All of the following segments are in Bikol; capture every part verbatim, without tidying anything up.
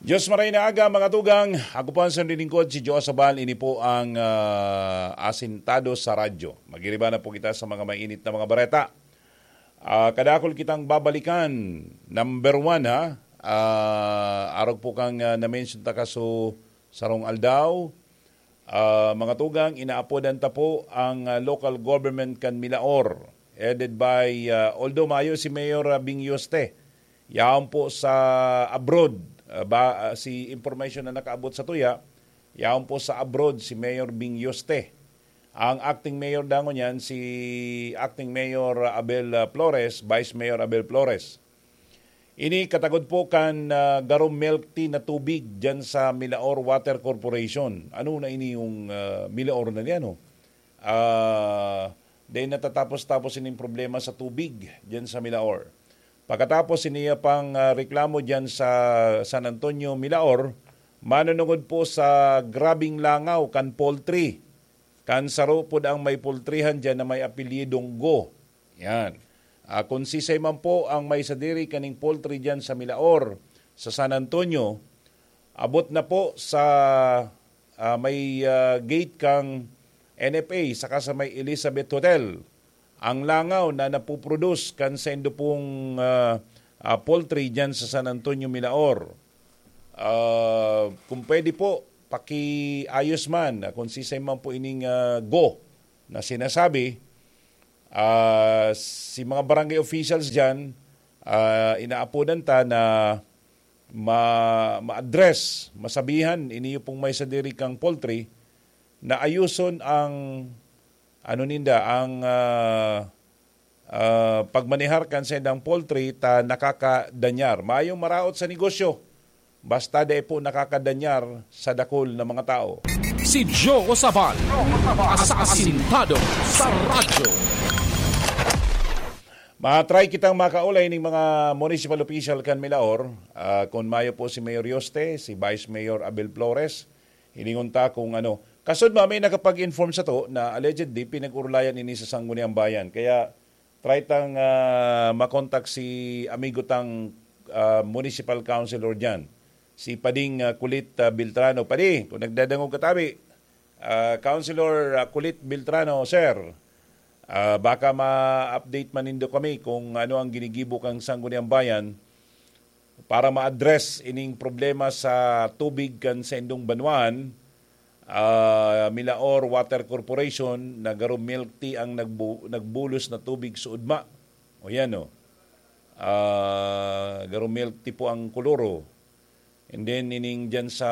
Diyos maray na aga, mga tugang. Ako po ang sundin lingkod, si Joe Sabal. Ini po ang ah, Asintado sa Radyo. Magiriba na po kita sa mga mainit na mga bareta. Ah, kadakul kitang babalikan. Number one, ha? Ah, arog po kang ah, na-mention ta kaso sarong aldaw. Ah, mga tugang, inaapodan ta po ang ah, local government kan Milaor, headed by, ah, although mayo si Mayor ah, Bing Yoste, yaon po sa abroad. Ah, ba, ah, si information na nakaabot sa tuya, yaon po sa abroad si Mayor Bing Yoste. Ang acting mayor dangon yan, si acting mayor ah, Abel ah, Flores, vice mayor Abel Flores. Ini katagod po kan ah, garo milk tea na tubig dyan sa Milaor Water Corporation. Ano na ini yung ah, Milaor na niya, no? Ah, dahil natatapos-tapos ining problema sa tubig dyan sa Milaor. Pagkatapos, iniya pang ah, reklamo dyan sa San Antonio, Milaor, manunungod po sa grabing langaw kan poultry. Kan saro pod ang may poultryhan dyan na may apelyidong Go. Yan. Ah, kung sisay man po ang may sadiri kaning poultry dyan sa Milaor, sa San Antonio, abot na po sa ah, may ah, gate kang N F A saka sa may Elizabeth Hotel ang langaw na napuproduce kan saindo pong ah, ah, poultry dyan sa San Antonio, Milaor. Ah, kung pwede po, pakiayos man, ah, kung sisay man po ining ah, Go na sinasabi, ah, si mga barangay officials dyan, ah, inaapodan ta na ma-, ma-address, masabihan, iniyo pong may sadiri kang poultry, na ayuson ang, ano ninda, ang ah, ah, pagmanehar kan saindang poultry ta nakakadanyar. Mayong maraot sa negosyo, basta dai po nakakadanyar sa dakul na mga tao. Si Joe Sabal, asasintado sa radyo. Matry kitang makaulay ning mga municipal official kan Milaor. Ah, kun mayo po si Mayor Yoste, si Vice Mayor Abel Flores, hiningon ta kung ano. Kasod ma, may nakapag-inform sa to na allegedly pinag-urulayan ini sa Sangguniang Bayan. Kaya try tang ah, makontak si amigo tang ah, municipal councilor dyan, si Pading ah, Kulit ah, Beltrano. Padi, kung nagdadangog ka tabi, ah, Councilor ah, Kulit Beltrano, sir, ah, baka ma-update man nindo kami kung ano ang ginigibo kang Sangguniang Bayan para ma-address ining problema sa tubig kan saindong banwaan, ah, Milaor Water Corporation, na garo milk tea ang nagbu-, nagbulos na tubig sa udma. O yan, no? Ah, garo milk tea po ang kuluro. And then, ining dyan sa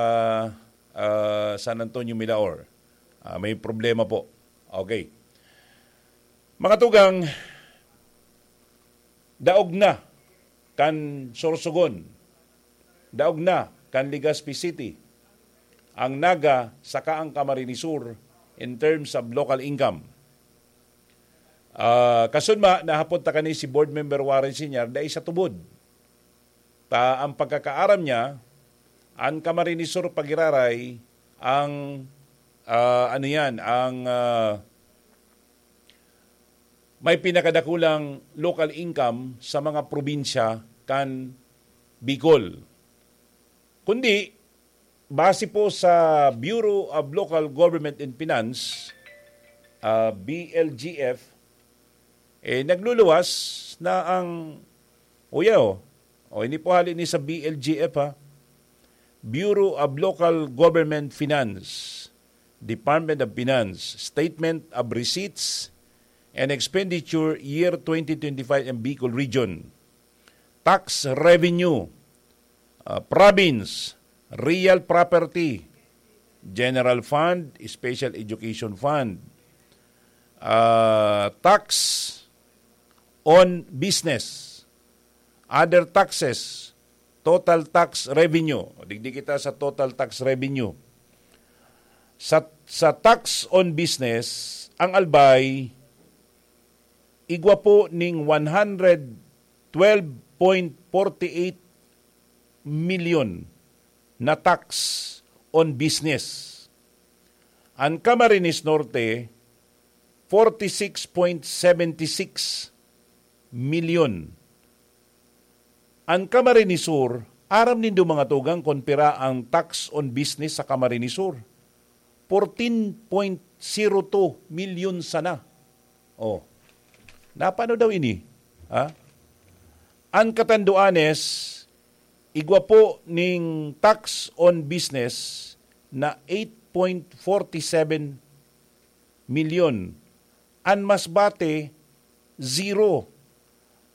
ah, San Antonio, Milaor. Ah, may problema po. Okay. Mga tugang, daog na kan Sorsogon, daog na kan Legazpi City, ang Naga saka ang Camarines Sur in terms of local income. Ah, kasunma, nahapot ta kani si Board Member Warren Senior, dai sa tubod. Ta ang pagkakaaram niya, ang Camarines Sur pagiraray ang, ah, ano yan, ang ah, may pinakadakulang local income sa mga probinsya kan Bicol. Kundi, base po sa Bureau of Local Government and Finance, ah, B L G F, eh, nagluluwas na ang, o yan, o. O, hindi po hali ni sa B L G F, ha. Bureau of Local Government Finance, Department of Finance, Statement of Receipts and Expenditure Year twenty twenty-five and Bicol Region. Tax revenue, ah, province, real property, general fund, special education fund, ah, tax on business, other taxes, total tax revenue. Digdi kita sa total tax revenue. Sa, sa tax on business, ang Albay, igwa po ning one hundred twelve point forty eight million na tax on business. Ang Camarines Norte, forty six point seventy six million. Ang Camarines Sur, Aram nindo, mga tugang, kun pira ang tax on business sa Camarines Sur? Fourteen point zero two milyon sana. Oh. Napano daw ini? Ha? An Catanduanes, igwa po ning tax on business na eight point forty seven milyon. An Masbate, zero.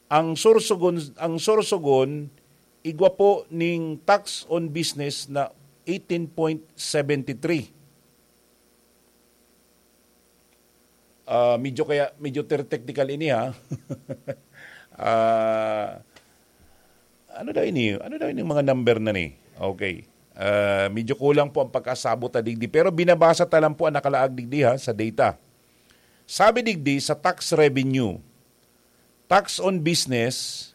Ang Sorsogon, ang Sorsogon, igwa po ning tax on business na eighteen point seventy three. Ah, medyo kaya, medyo ter-, technical ini, ha? Ah, ano daw ini? Ano daw ini mga number na ni? Okay. Ah, medyo kulang po ang pagkasabot na digdi. Pero binabasa ta lang po ang nakalaag digdi, ha, sa data. Sabi digdi, sa tax revenue, tax on business,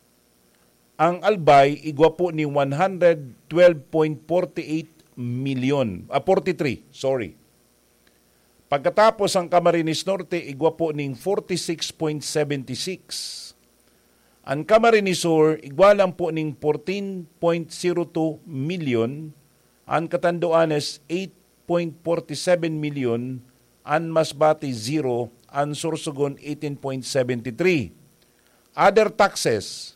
ang Albay igwa po ni one hundred twelve point forty eight million, ah, forty three, sorry. Pagkatapos, ang Camarines Norte igwa po ning forty six point seventy six. An Camarines Sur igwa lang po ning fourteen point zero two million. An Catanduanes, eight point forty seven million. An Masbate, zero. An Sorsogon, eighteen point seventy three. Other taxes.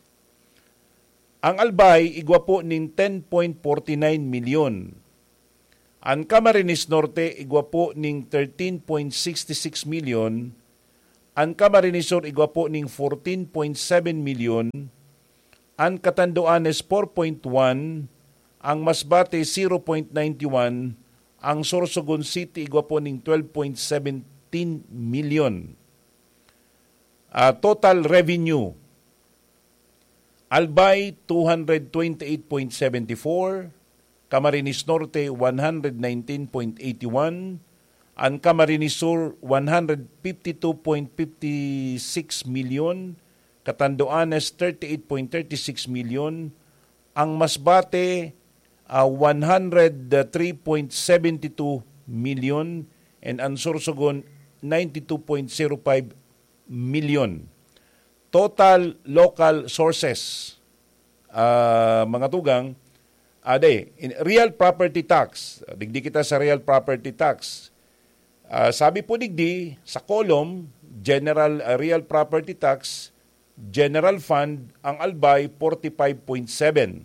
Ang Albay igwa po ning ten point forty nine milyon. An Camarines Norte igwa po ning thirteen point sixty six milyon. An Camarines Sur igwa po ning fourteen point seven milyon. An Catanduanes, four point one. Ang Masbate, zero point ninety one. Ang Sorsogon City igwa po ning twelve point seventeen milyon. Ah, total revenue, Albay, two hundred twenty-eight point seventy four, Camarines Norte, one hundred nineteen point eighty one, an Camarines Sur, one hundred fifty two point fifty six milyon, Catanduanes, thirty eight point thirty six milyon, ang Masbate, ah, one hundred three point seventy two milyon, and an Sorsogon, ninety two point zero five milyon. Total local sources, ah, mga tugang, ade, in real property tax, digdi kita sa real property tax. Ah, sabi po digdi, sa column, general, ah, real property tax, general fund, ang Albay, forty five point seven.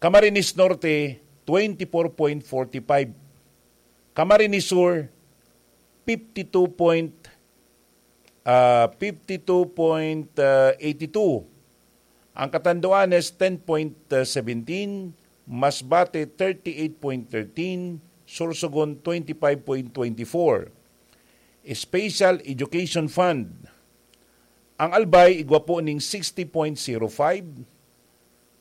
Camarines Norte, twenty four point forty five. Camarines Sur, fifty two point, ah, fifty two point eighty two. Ang Catanduanes, ten point seventeen. Masbate, thirty eight point thirteen. Sorsogon, twenty five point twenty four. Special Education Fund. Ang Albay, igwa po ning sixty point zero five.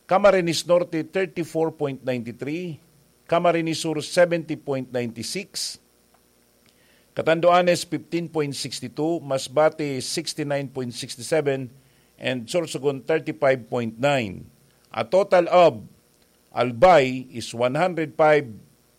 Camarines Norte, thirty four point ninety three. Camarines Sur, seventy point ninety six. Catanduanes, fifteen point sixty two. Masbate, sixty nine point sixty seven. And Sorsogon, thirty five point nine. A total of Albay is one hundred five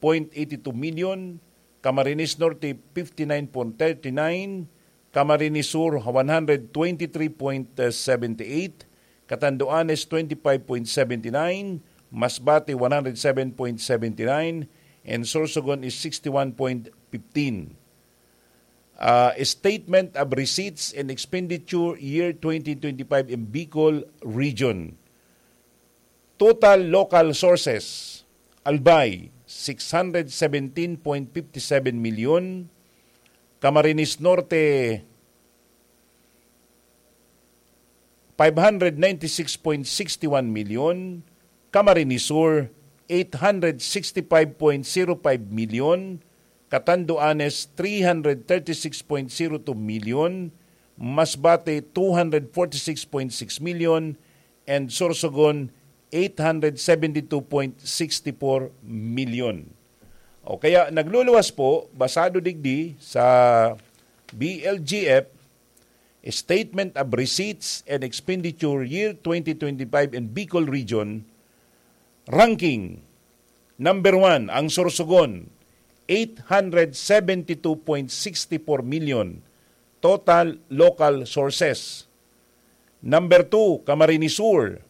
point eighty two million. Camarines Norte, fifty nine point thirty nine. Camarines Sur, one hundred twenty three point seventy eight. Catanduanes, twenty five point seventy nine. Masbate, one hundred seven point seventy nine. And Sorsogon is sixty one point fifteen. Ah, statement of receipts and expenditure year twenty twenty five in Bicol Region. Total local sources, Albay, six hundred seventeen point fifty seven milyon. Camarines Norte, five hundred ninety six point sixty one milyon. Camarines Sur, eight hundred sixty five point zero five milyon. Catanduanes, three hundred thirty six point zero two milyon. Masbate, two hundred forty six point six milyon. And Sorsogon, eight hundred seventy two point sixty four milyon. O kaya, nagluluwas po, basado digdi sa B L G F, Statement of Receipts and Expenditure Year twenty twenty-five in Bicol Region, ranking, number one, ang Sorsogon, eight hundred seventy two point sixty four million total local sources. Number two, Camarines Sur,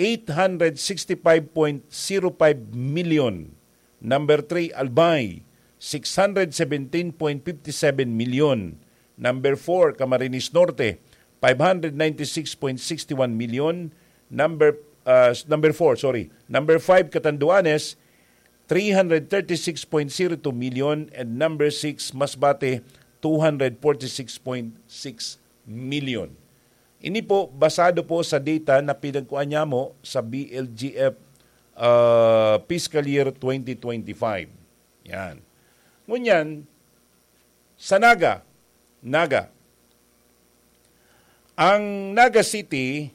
eight hundred sixty-five point zero five million. Number three, Albay, six hundred seventeen point fifty-seven million. Number four, Camarines Norte, five hundred ninety-six point sixty-one million. Number, uh, number four, sorry. Number five, Catanduanes, three hundred thirty-six point zero two million. And number six, Masbate, two hundred forty-six point six million. Ini po, basado po sa data na pinagkuha niya mo sa B L G F, ah, fiscal year twenty twenty-five. Yan. Ngunyan, sa Naga, Naga, ang Naga City,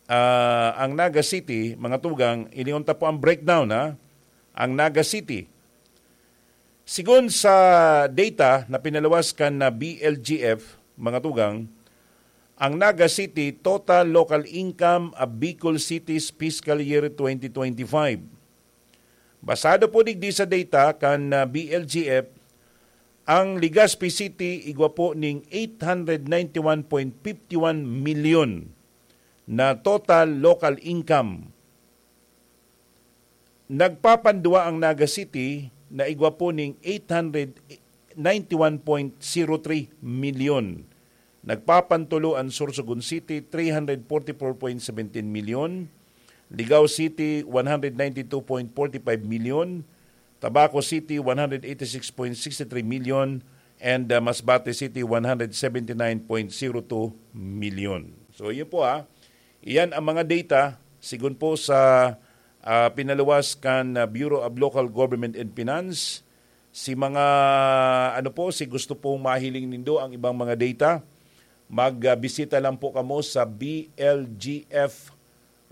ah, ang Naga City, mga tugang, ilingon ta po ang breakdown, ha? Ang Naga City, sigon sa data na pinaluwas kan na B L G F, mga tugang, ang Naga City total local income of Bicol City's fiscal year twenty twenty-five. Basado po digdi sa data kan, ah, B L G F, ang Legazpi City igwa po ning eight hundred ninety-one point fifty-one million na total local income. Nagpapanduwa ang Naga City na igwa po ning eight hundred ninety-one point zero three million. Nagpapantulo ang Sorsogon City, three hundred forty-four point seventeen million. Ligao City, one hundred ninety-two point forty-five million. Tabaco City, one hundred eighty-six point sixty-three million. And, uh, Masbate City, one hundred seventy-nine point zero two million. So, yun po, ha. Iyan ang mga data, sigon po sa, ah, pinaluwas kan, ah, Bureau of Local Government and Finance. Si mga, ano po, si gusto pong mahiling nindo ang ibang mga data, magbisita lang po kamo sa B L G F,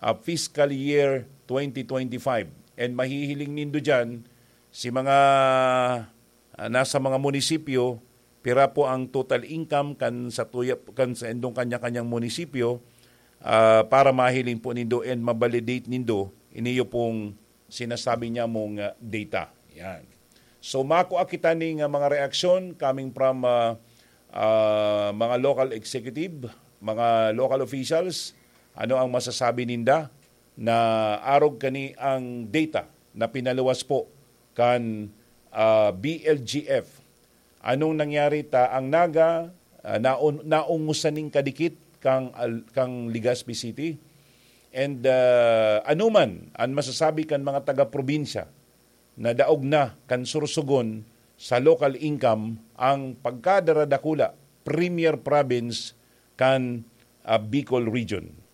ah, fiscal year twenty twenty-five. And mahihiling nindo dyan si mga, ah, nasa mga munisipyo, pira po ang total income kan sa tuya, kan sa indong kanya-kanyang munisipyo, ah, para mahiling po nindo and ma-validate nindo iniyo pong sinasabi niya mong, ah, data. Yan. So, makua kita ning, ah, mga reaksyon coming from, ah, ah, mga local executive, mga local officials. Ano ang masasabi ninda na arog kani ang data na pinaluwas po kan, ah, B L G F? Anong nangyari ta ang Naga, ah, naon-, naungusan ning kadikit kang al-, kang Legazpi City? And, ah, ano man an masasabi kan mga taga-probinsya na daog na kan Sorsogon sa local income ang pagkadaradakula, premier province kan, ah, Bicol Region?